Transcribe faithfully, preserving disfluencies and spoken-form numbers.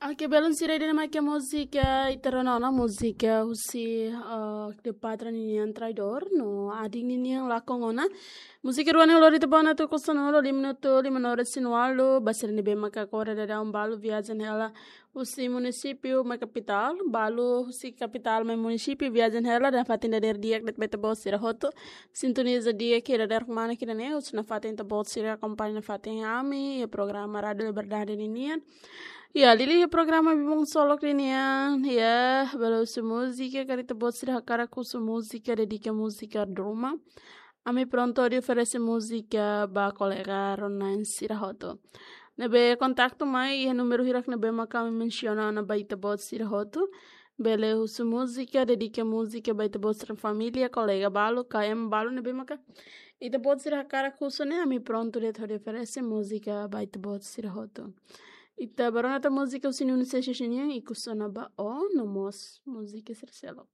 Oke, belun sira, ida-ne'e mak múzika ita rona ona, múzika husi, eh, Cleopatra ninian Traidor no Ading ninian Lakon Ona. Múzika rua ne'e lori tiha ona tuku sanulu, lima minutu, lima minutu resin walu, ba sira ne'ebé maka agora daudaun balu viajen hela husi munisípiu mai kapitál, balu husi kapitál mai munisípiu viajen hela, nafatin dadeer di'ak de'it ba ita-boot sira hotu. Sintoniza di'ak iha dadeer-ruma ne'e, husi nafatin ita-boot sira akompaña nafatin ami iha programa Rádio Liberdade ninian. Ya, liuliu iha programa Bibung Solok ninian, ya, bele husu múzika, karik ita-boot sira hakarak husu múzika, dedika múzika ruma, ami prontu hodi oferese múzika ba kolega rona-na'in sira hotu. Ne'ebé kontaktu mai iha númeru hirak ne'ebé maka ami mensiona ona ba ita-boot sira hotu. Bele husu múzika, dedika múzika ba ita-boot sira família, kolega balu, K M balu ne'ebé maka ita-boot sira hakarak husu ne'e, ami prontu de'it hodi oferese múzika ba ita-boot sira hotu. Ita bá rona tan múzika husi Nuno Seixas nian, Ikus Ona Ba Ó, no mós múzika sira seluk.